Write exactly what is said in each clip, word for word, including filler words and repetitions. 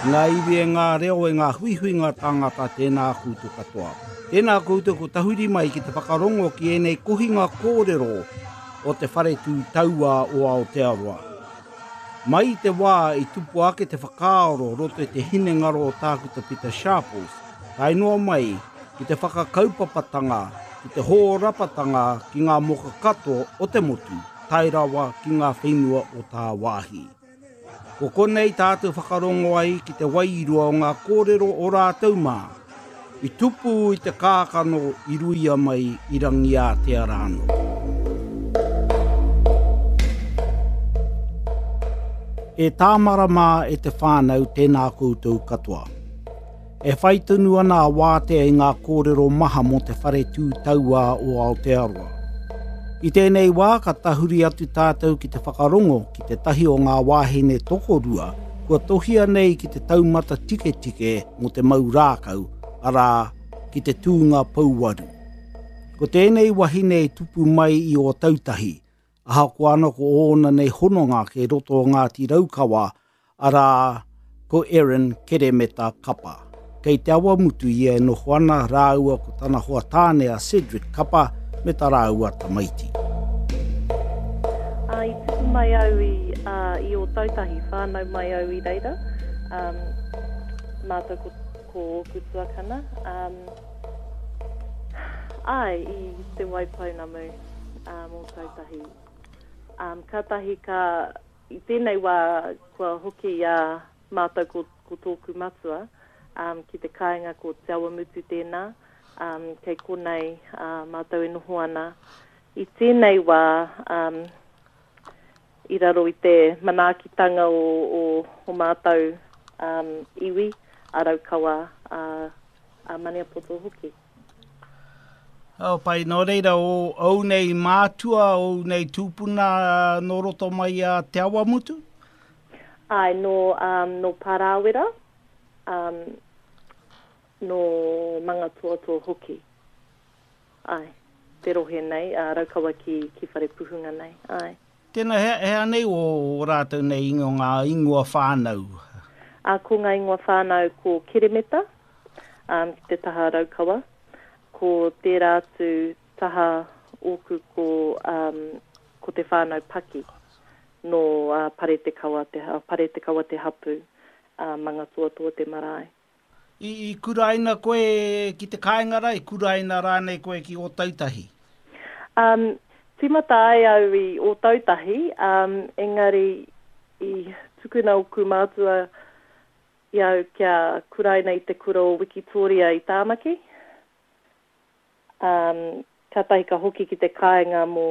Ngā iwi e ngā reo e ngā huihuinga tāngata tēnā koutou katoa. Tēnā koutou ko tahuri mai ki te whakarongo ki ēnei kohinga kōrero o te Whare Tū Tauā o Aotearoa. Mai i te wā i tupu ake te whakaaro roto i te hinengaro o Tākuta Pita Sharples, tae noa mai ki te whakakaupapatanga, ki te hōrapatanga ki ngā moka katoa o te motu, tae rawa ki ngā whenua o tāwāhi. Ko konei tātou whakarongo ai ki te wairua o ngā kōrero o rātou mā, i tupu i te kākano i ruia mai i Rangiātea rānō. E tāmara mā e te whānau tēnā koutou katoa. E whai tonu ana a Wātea i ngā kōrero maha mō te Whare Tū Tauā o Aotearoa. I tēnei wā ka tahuri atu tātou ki te whakarongo ki tētahi o ngā wāhine tokorua kua tohia nei ki te taumata tiketike mō te mau rākau, arā, ki te tūnga pouwaru. Ko tēnei wahine i tupu mai i Ōtautahi, ahakoa ana ko ōna nei hononga kei roto o Ngāti Raukawa, arā, ko Erin Keremeta Kapa. Kei Te Awamutu ia e noho ana rāua ko tana hoa tāne a Cedric Kapa me tā rāua tamaiti. Ā, i tupu mai au i, ā, i Ōtautahi, whānau mai au i reira, um, mātou ko, ko ōku tuakana. Um, āe, i Te Waipounamu, um, Ōtautahi. Um, kātahi ka, i tēnei wā kua hoki i a mātou ko, ko tōku matua, um, ki te kāinga ko Te Awamutu tēnā, um, kei konei uh, mātou e noho ana. I tēnei wā, um, i raro i te manaakitanga o, o, o mātou um, iwi, a Raukawa, a, a Maniapoto hoki. Oh, pai, nō reira, o ou nei mātua, ou nei tūpuna nō roto mai a Te Awamutu? Ai, nō, um, nō Pārāwera, um, nō Mangatoatoa hoki. Ai, te rohe nei, a Raukawa ki, ki Wharepuhunga nei, ai. Tēnā, hea, hea nei o, o rātou nei ingoa, ngā ingoa whānau? A, ko ngā ingoa whānau ko Keremeta, um, ki te taha Raukawa. Ko tērā atu taha ōku ko, um, ko te whānau Paki, nō uh, Paretekawa te, uh, Paretekawa te hapu, uh, Mangatoatoa te marae. I, i kuraina koe ki te kāinga rā, i kuraina rānei koe ki Ōtautahi? Um, tīmata ai au i Ōtautahi, um, engari i tukuna ōku mātua i au kia kuraina i te kura o Wikitoria i Tāmaki. Um, kātahi ka hoki ki te kāinga mō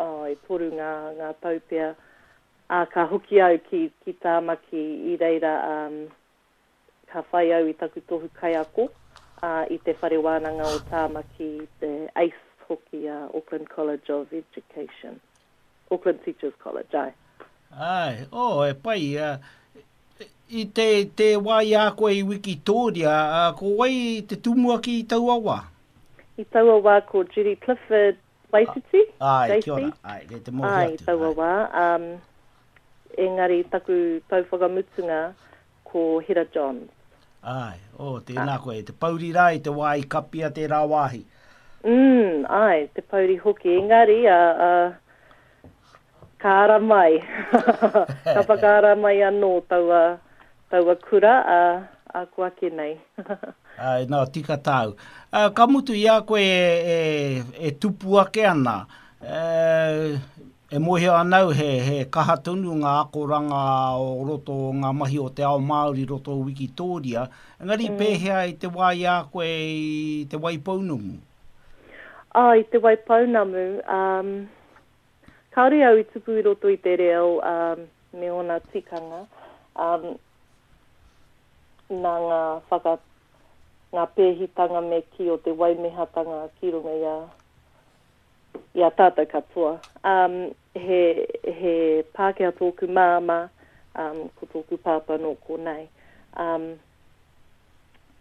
oh, e toru ngā, ngā tau pea. Ā, ka hoki au ki, ki Tāmaki i reira um, ka whai au i taku tohu kaiako uh, i te whare wānanga o Tāmaki, te ACE hoki, uh, Auckland College of Education. Auckland Teachers College, ai. Ai, oh, e pai. Uh, i te, te wā i a koe i Wikitoria, uh, ko wai te tumuaki i taua wā? I taua wā ko Judy Clifford Waititi, Ai, kia ora. Ai, kei te mōhio Ai, atu. i taua wā. Um, engari taku tau whakamutunga ko Hera Johns. Ai, oh, tēnā koe. Te pouri rā i te wā i kapia tērā wāhi. Mm, ai, te pouri hoki. Engari, a, a, ka ara mai. Ka whakaara mai anō taua, taua kura, a, a ko ake nei. Ai, nā, tika tāu. Uh, ka mutu i a koe e, e, e tupu ake ana, e, e mōhio anau he, he kaha tonu ngā akoranga o roto o ngā mahi o te ao Māori roto o Wikitoria, engari mm. pēhea i te wā i a koe i te Waipounamu? Ah, i te Waipounamu, um, kāore au i tupu i roto i te reo um, me ōna tikanga, um, nā ngā whaka, ngā pēhitanga me ki o te waimehatanga ki runga i a, i a tātou katoa. Um, he, he Pākehā tōku māmā, um, ko tōku pāpā nō konei. Um,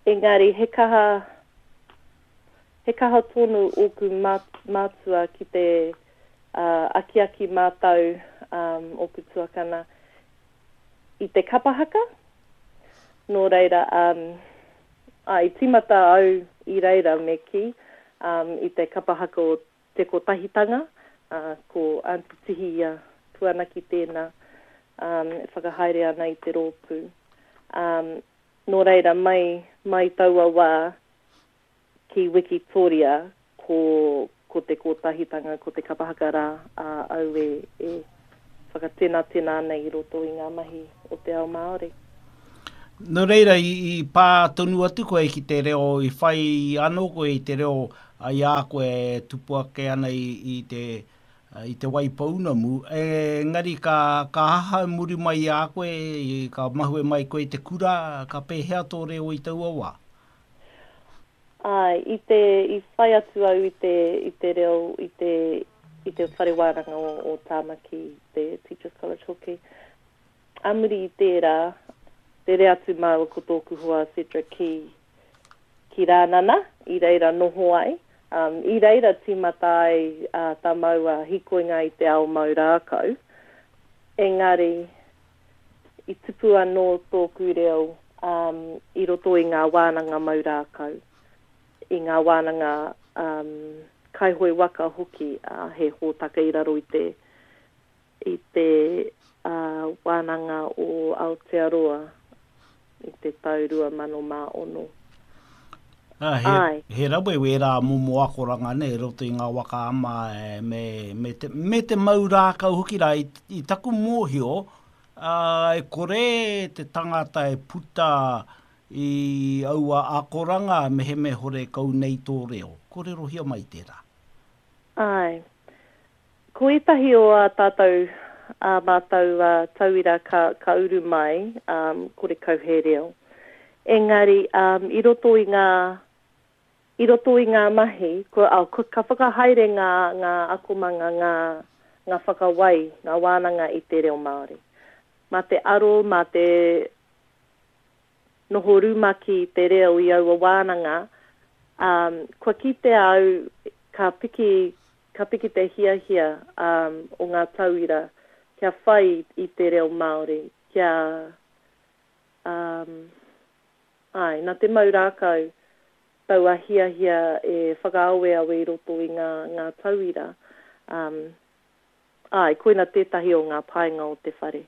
engari, he kaha, he kaha tonu ōku mātua ki te uh, akiaki mātau um, ōku tuakana i te kapahaka. Nō reira, um, ā, i tīmata au i reira me kī, um, i te kapa haka o Te Kotahitanga, ā, ko Aunty Tihia Puanaki tēnā, um, e whakahaere ana i te rōpū. Um, nō reira, mai, mai taua wā ki Wikitoria, ko, ko Te Kotahitanga, ko te kapa haka rā a au e, e whakatenatena ana i roto i ngā mahi o te ao Māori. Nō reira, i, i pā tonu atu koe ki te reo, i whai anō koe i te reo i a koe e tupu ake ana i, i te, i Te Waipounamu, engari ka, ka aha muri mai i a koe, ka mahue mai koe i te kura, ka pēhea tō reo i taua wā? Āe, i te, i whai atu au i te, i te reo, i te, i te whare wānanga o, o Tāmaki, te Teachers College hoki. Ā muri i tērā, rere atu māua ko tōku hoa Cedric ki, ki Rānana, i reira noho ai. Um, i reira tīmata ai uh, tā māua hīkoinga i te ao mau rākau. Engari, i tupu anō tōku reo um, i roto i ngā wānanga mau rākau, i ngā wānanga um, kaihoe waka hoki, uh, he hōtaka i raro i te, i te uh, wānanga o Aotearoa i te tau rua mano mā ono. Ah, he, Ai. he rawe wērā momo akoranga nei, roto i ngā waka ama e, me, me, te, me te mau rākau hoki rā. I, i taku mōhio, uh, e kore te tangata e puta i aua akoranga me he me hore kau nei tō reo. Kōrerohia mai tērā. Ai. Ko ētahi o ā tātou, ā mātou uh, tauira ka, ka uru mai, um, kore kau he reo. Engari, um, i roto i ngā, i roto i ngā mahi, ko, oh, ko, ka whakahaere ngā, ngā akomanga, ngā, ngā whakawai, ngā wānanga i te reo Māori. Mā te aro, mā te noho rumaki te reo i aua wānanga, um, kua kitea au ka piki, ka piki te hiahia um, o ngā tauira kia whai i te reo Māori, kia um, ai, nā te mau rākau taua hiahia e whakaaweawe i roto i ngā, ngā tauira. Um, ai, koina tētahi o ngā painga o te whare.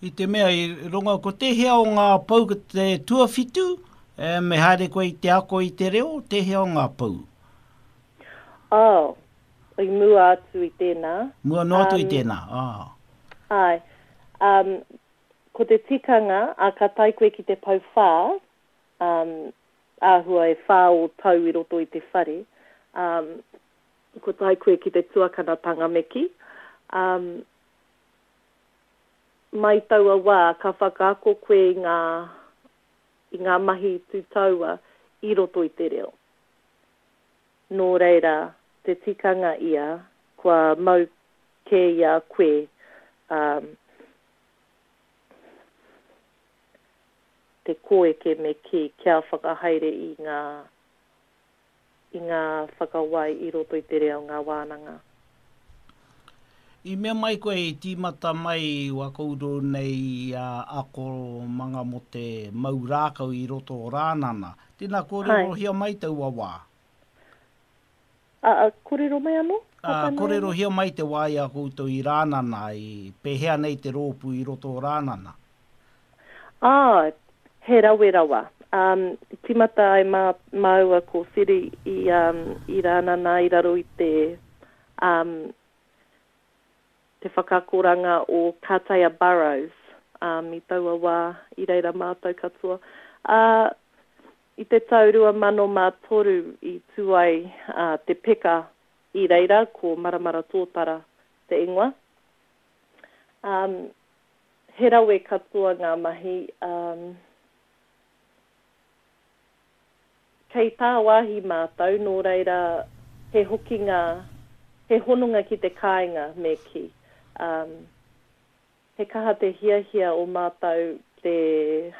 I te mea i rongo, ko tēhea o ngā pou, ko te tuawhitu, e, me haere koe i te ako i te reo, tēhea o ngā pou? Oh, i mua atu i tēnā. Mua noa atu um, i tēnā, ah. Ai, um, ko te tikanga, a ka tae koe ki te pou whā, um, āhua e whā o tau i roto i te whare, um, ko tae koe ki te tuakanatanga me kī. Um, mai taua wā, ka whakaako koe i ngā, i ngā mahi tūtaua i roto i te reo. Nō reira, te tikanga ia, kua mau kē i a koe, um, te kōeke me kī kia whakahaere i ngā, i ngā whakawai i roto i te reo ngā wānanga. I mea mai koe i tīmata mai wa koutou nei uh, akomanga mō te mau rākau i roto o Rānana. Tēnā kōrerohia mai taua wā. A, a, kōrero mai anō? A, kōrerohia mai te wā i a koutou i Rānana, i pēhea nei te rōpū i roto o Rānana? Ah, he rawe rawa. Um, tīmata ai mā, māua ko Whiri i, um, i Rānana i raro i te, um, te whakaakoranga o Katea Burrows um, i taua wā i reira mātou katoa. Uh, i te tau rua mano mā toru i tū ai uh, te peka i reira, ko Maramara Tōtara te ingoa. Um, he rawe katoa ngā mahi. Um, kei tāwāhi mātou, nō reira he hokinga, he hononga ki te kāinga me kī. Um, he kaha te hiahia o mātou te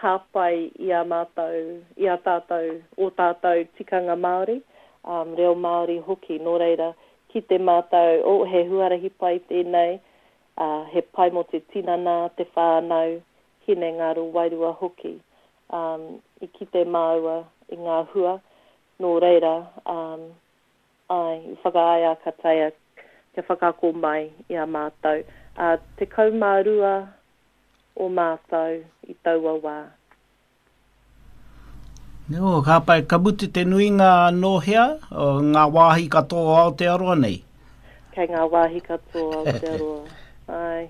hāpai i a mātou, i a tātou, o tātou tikanga Māori, um, reo Māori hoki. Nō reira, ki te mātou, oh, he huarahi pai tēnei, uh, he pai mō te tinana, te whānau, hinengaro, wairua hoki. Um, i kite māua i ngā hua, nō reira, um, ai, i whakaae a Katea kia whakaako mai i a mātou. Uh, tekau mā rua o mātou i taua wā. No, ka pai, ka mutu te nuinga nō hea, o ngā wāhi katoa o Aotearoa nei? Kei ngā wāhi katoa o Aotearoa. Ai,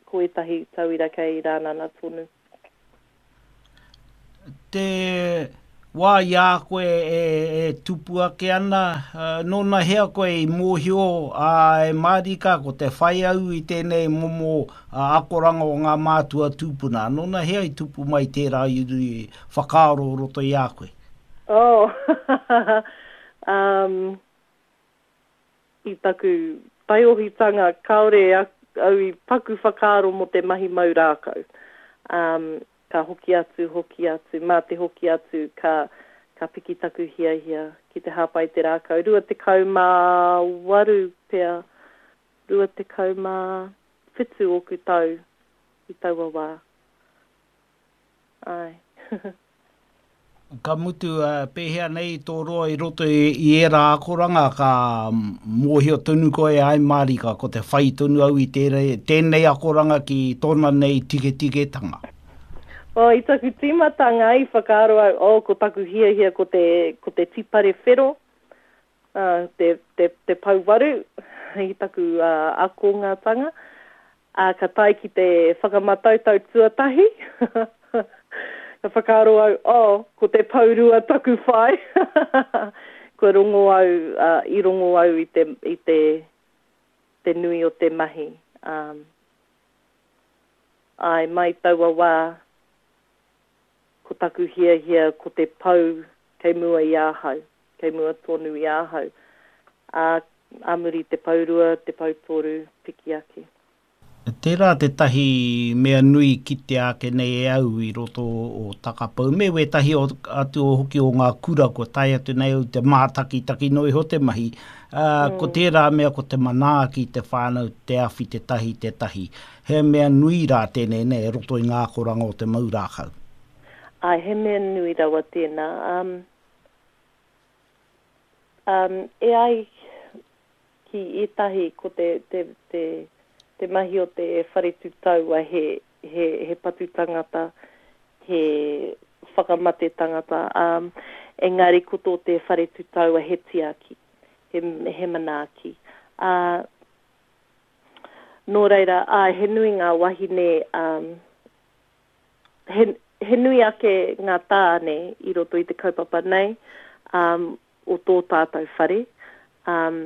ko ētahi tauira kei Rānana tonu. Te wā i a koe e, e tupu ake ana, nōna hea koe i mōhio a e mārika ko te whai au i tēnei momo akoranga o ngā mātua tūpuna. Nōna hea i tupu mai tērā i whakaaro o roto i a koe? Oh, um, i taku taiohitanga kāore au i paku whakaaro mō te mahi mau rākau. Um, ka hoki atu, hoki atu, mā te hoki atu, ka, ka piki taku hiahia ki te hāpai te rākau. Rua tekau mā waru pea, rua tekau mā whitu ōku tau i taua wā. Ai. Ka mutu, uh, pēhea nei tō roa i roto i, i ērā akoranga, ka mōhio tonu koe ai mārika, ko te whai tonu au i tērei, tēnei akoranga ki tōna nei tiketiketanga. Oh, i taku tīmatanga i whakaaro au, oh, ko taku hiahia ko te, ko te tipare whero, uh, te, te, te pouwaru i taku uh, akongatanga. Uh, ka tae ki te whakamatautau tuatahi. Ka whakaaro au, oh, ko te pourua taku whai. Kua rongo au, uh, i rongo au i te, i te, te nui o te mahi. Um, ai, mai taua wā, ko taku hiahia, ko te pou kei mua i ahau, kei mua tonu i ahau. Ā, ā muri te pourua, te poutoru, piki ake. Tērā tētahi mea nui kitea ake nei e au i roto o Takapau, me wētahi o, atu o hoki o ngā kura kua tae atu nei au te mātakitaki noa iho te mahi. Uh, mm. Ko tērā mea ko te manaaki te whānau, te awhi te tahi te tahi. He mea nui rā tēnei nei e roto i ngā akoranga o te mau rākau. Ai, he mea nui rawa tēnā. Um, um, e ai ki ētahi ko te, te, te, te mahi o te whare tūtaua he, he, he patu tangata, he whakamate tangata. Um, engari ko tō te whare tūtaua he tiaki, he, he manaaki. Uh, nō reira, ai, he nui ngā wahine, um, he, he nui ake ngā tāne i roto i te kaupapa nei, um, o tō tātou whare. Um,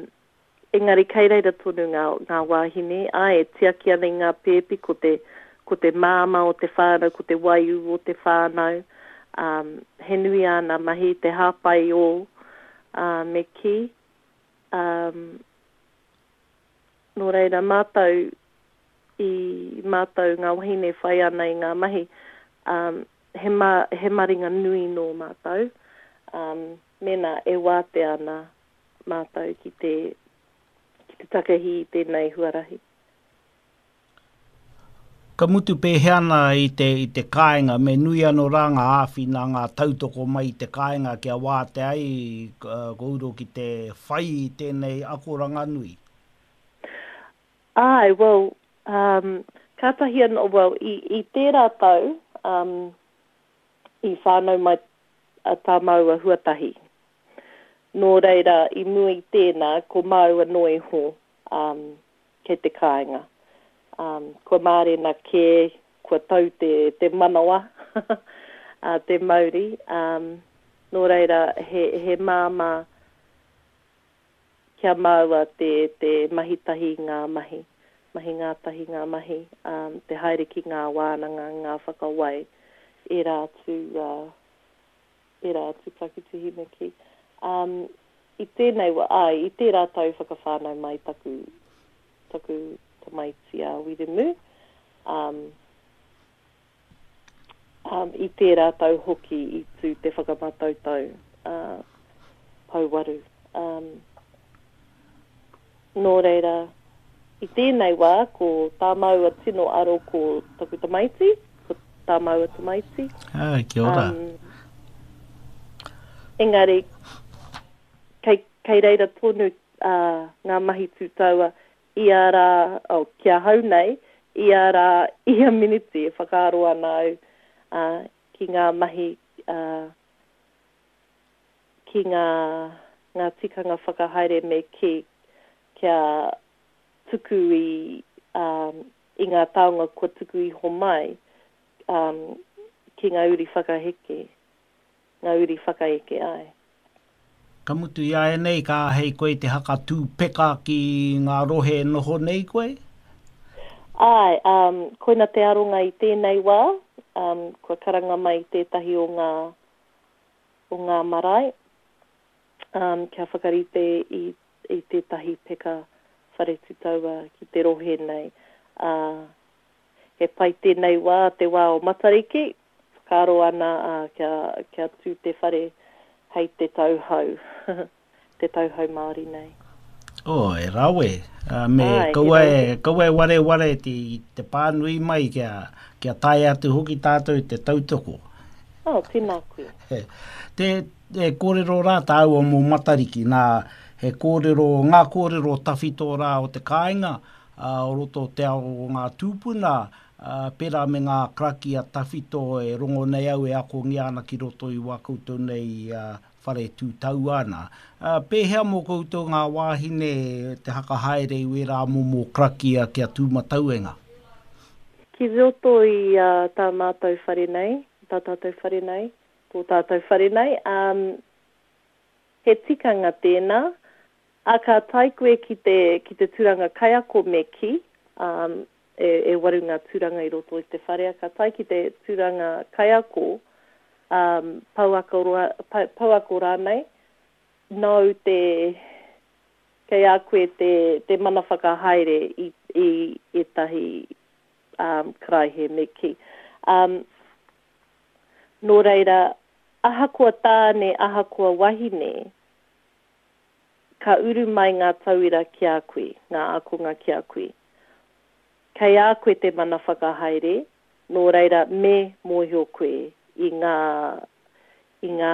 engari kei reira tonu ngā, ngā wāhine, ai, e tiaki ana i ngā pēpi, ko te, ko te māma o te whānau, ko te waiū o te whānau. Um, he nui āna mahi, te hāpai o, uh, me kī. Um, nō reira, mātou, i mātou ngā wahine whai ana i ngā mahi, um, he, ma, he maringa nui nō mātou, um, mēnā e wātea ana mātou ki te, ki te takahi i tēnei huarahi. Ka mutu pēhea ana i te, i te kāinga, me nui anō rā ngā āwhina, ngā tautoko mai i te kāinga kia wātea ai kōrua ki te whai i tēnei akoranga nui? Ai, well, um, kātahi anō, well, i, i tērā tau, um, i whānau mai a tā māua huatahi. Nō reira, i mua i tēnā, ko māua noa iho um, kei te kāinga. Um, kua mārena kē, kua tau te, te manawa, uh, te mauri. Um, nō reira, he, he māmā kia māua te, te mahi tahi ngā mahi, mahi ngātahi ngā mahi, um, te haere ki ngā wānanga, ngā whakawai, ērā atu, uh, ērā atu pakihiwi me kī. Um, i tēnei wā, ai, i tērā tau whakawhānau mai taku, taku tamaiti a Wiremu. Um, um, i tērā tau hoki i tū te whakamatautau uh, pouwaru. Um, nō reira, i tēnei wā, ko tā māua tino aro ko taku tamaiti, ko, tā māua tamaiti. Ah, kia ora. Um, engari, kei, kei reira tonu uh, ngā mahi tūtaua ia rā, oh, ki ahau nei, ia rā, ia miniti e whakaaro ana au uh, ki ngā mahi, uh, ki ngā, ngā tikanga whakahaere me ki, kia tuku i, um, i ngā taonga kua tuku iho mai um, ki ngā uri whakaheke, ngā uri whakaeke ai. Ka mutu i āianei, ka āhei koe te hakatū peka ki ngā rohe e noho nei koe? Āe, um, koina te aronga i tēnei wā, um, kua karanga mai tētahi o ngā, o ngā marae, um, kia whakarite i, i tētahi peka whare tūtaua ki te rohe nei. Uh, he pai tēnei wā, te wā o Matariki, whakaaro ana uh, kia, kia tū te whare hei te tau hou, te tau hou Māori nei. Oh, e rawe. Uh, me Ai, he kaua rawe. e, kaua e wareware te, te pānui mai kia, kia tae atu hoki tātou te tautoko. Oh, tēnā koe. He, te, te kōrero rā tāua mō Matariki, nā he kōrero, ngā kōrero tawhito rā o te kāinga, uh, o roto o te ao o ngā tūpuna, uh, pērā me ngā karakia tawhito e rongo nei au e akongia ana ki roto i wā koutou nei uh, whare tūtaua ana. Uh, pēhea mō koutou ngā wāhine te hakahaere i wērā momo karakia kia tūmatauenga? Ki roto i uh, tā mātou whare nei, tā tātou whare nei, tō tātou whare nei, um, he tikanga tēnā, a ka tae koe ki te, ki te tūranga kaiako me ki, um, e, e waru ngā tūranga i roto i te whare, a ka tae ki te tūranga kaiako, um, pouako, roa, pa, pouako rānei, nau te, kei a koe te, te mana whakahaere i, i ētahi um, karaihe me ki. Um, nō reira, ahakoa tāne, ahakoa wahine, ka uru mai ngā tauira ki a koe, ngā ākonga ki a koe. Kei a koe te mana whakahaere, nō reira me mōhio koe i ngā, i ngā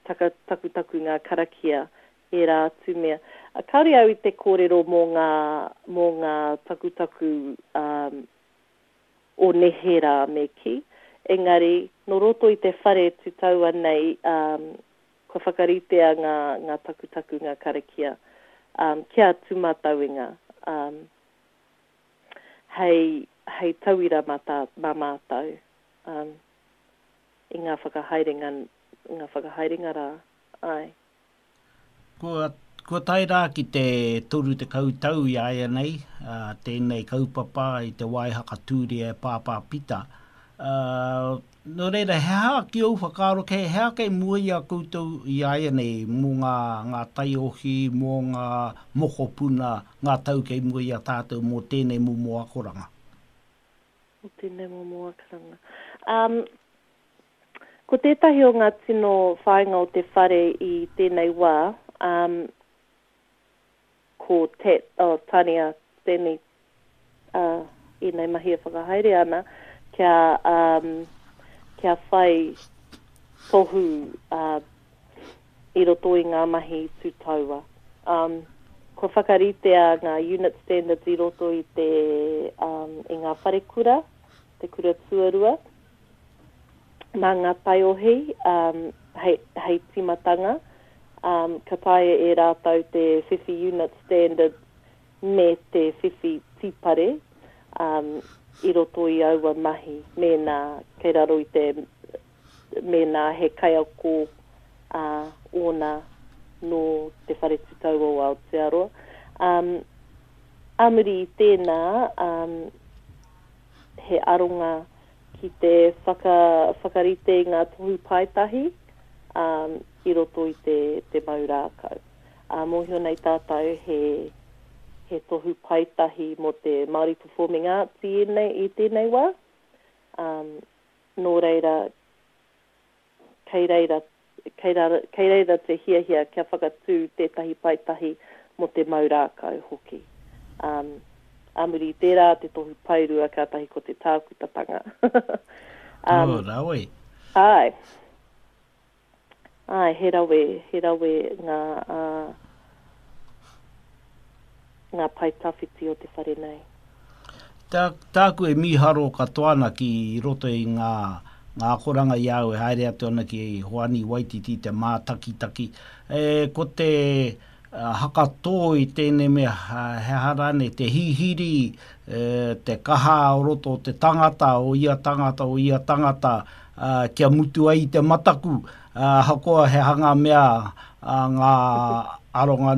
taka, takutaku, ngā karakia, ērā atu mea. A, kāore au i te kōrero mō ngā, mō ngā takutaku um, o neherā me ki, engari nō roto i te whare tūtaua nei, um, kua whakaritea ngā, ngā takutaku, ngā karakia, um, kia tūmatauenga, um, hei, hei tauira mā, tā, mā mātou, um, i ngā whakahaerenga, ngā whakahaerenga rā, ai. Kua, kua tae rā ki te toru tekau tau i āianei, uh, tēnei kaupapa i te wā i hakatūria e Pāpā Pita. Uh, nō reira, he aha ki ou whakaaro, kei, he aha kei mua i a koutou i āianei mō ngā, ngā taiohi, mō ngā mokopuna, ngā tau kei mua i a tātou mō tēnei momo akoranga? Mō tēnei momo akoranga. Um, ko tētahi o ngā tino whāinga o te whare i tēnei wā, um, ko te, oh, Tania, tēnei, uh, ēnei mahi e whakahaere ana, kia, um, kia whai tohu uh, i roto i ngā mahi tūtaua. Um, kua whakaritea ngā unit standards i roto i te, um, i ngā wharekura, te kura tuarua, mā ngā taiohi, um, hei, hei tīmatanga, um, ka taea e rātou te whiwhi unit standards me te whiwhi tīpare, um, i roto i aua mahi, mēnā kei raro i te, mēnā he kaiako, uh, ōna nō te whare tūtaua o Aotearoa. Um, ā muri i tēnā, um, he aronga ki te whaka, whakarite i ngā tohu paetahi, um, i roto i te, te mau rākau. Uh, mōhio nei tātou he, he tohu paetahi mō te Māori Performing Arts i ēnei, i tēnei wā. Um, nō reira, kei reira, kei reira, kei reira te hiahia kia whakatū tētahi paetahi mō te mau rākau hoki. Um, ā muri i tērā te tohu paerua kātahi ko te tākutatanga. Um, oh, rawe. Āe. Āe, he rawe, he rawe ngā, uh, ngā pae tawhiti o te whare nei. Tā, tāku e mīharo katoa ana ki roto i ngā, ngā akoranga i au e haere atu ana ki Hoani Waititi te mātakitaki. E, ko te uh, hakatō i tēnei mea, he aha rānei, te hihiri, e, te kaha o roto o te tangata, o ia tangata, o ia tangata, uh, kia mutu ai te mataku, uh, ahakoa he hanga mea uh, ngā aronga